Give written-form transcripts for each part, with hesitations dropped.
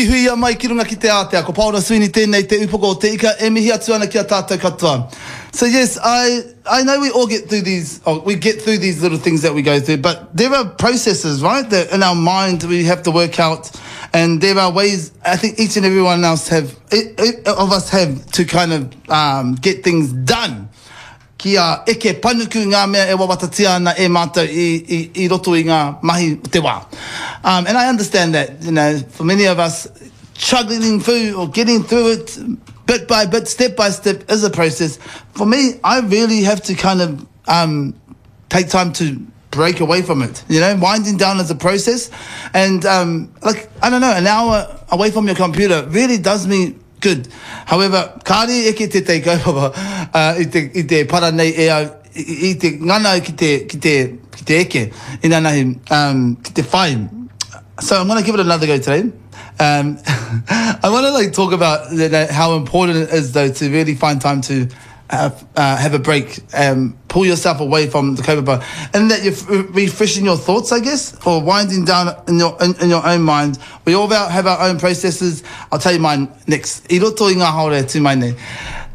Huihuia mai ki runga ki te ātea, ko Paora Sweeney tēnei te upoko o te ika e mihi atu ana ki a tātou katoa. So yes, I, I know we all get through these, oh, we get through these little things that we go through, but there are processes, right, that in our mind we have to work out, and there are ways I think each and every one else have, of us have to kind of um, get things done. Kia eke panuku ngā mea e wawatatia ana e mātou i, i, i roto i ngā mahi o te wā. Um, and I understand that, you know, for many of us, struggling through or getting through it bit by bit, step by step is a process. For me, I really have to kind of um, take time to break away from it. You know, winding down is a process. And um, like, I don't know, an hour away from your computer really does me good. However, kāre eke tētahi kaupapa uh, i, te, i te para nei e au, i, i te ngana au ki te, ki te, ki te eke, inanahi, um, ki te whai. So I'm going to give it another go today. Um, I want to like talk about you know, how important it is though to really find time to have, uh, have a break, um, pull yourself away from the kaupapa, and that you're refreshing your thoughts, I guess, or winding down in your, in, in your own mind. We all have our own processes. I'll tell you mine next. I roto i ngā haora e tū mai nei.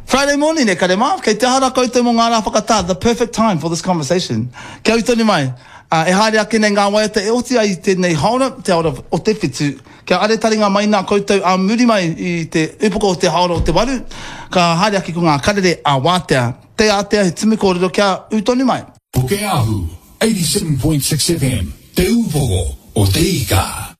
Friday morning e kare mā, kei te aha rā koutou mō ngā rā whakatā, the perfect time for this conversation. Kia ū tonu mai, uh, e haere ake nei ngā waiata e oti ai i tēnei haora, te haora o te whitu. Kia are taringa mai nā koutou ā muri mai i te upoko o te haora o te waru, ka haere ake ko ngā karere a Wātea. Te ātea he tumu kōrero kia ū tonu mai. Pukeahu, 87.6 FM, Te Ūpoko o Te Ika.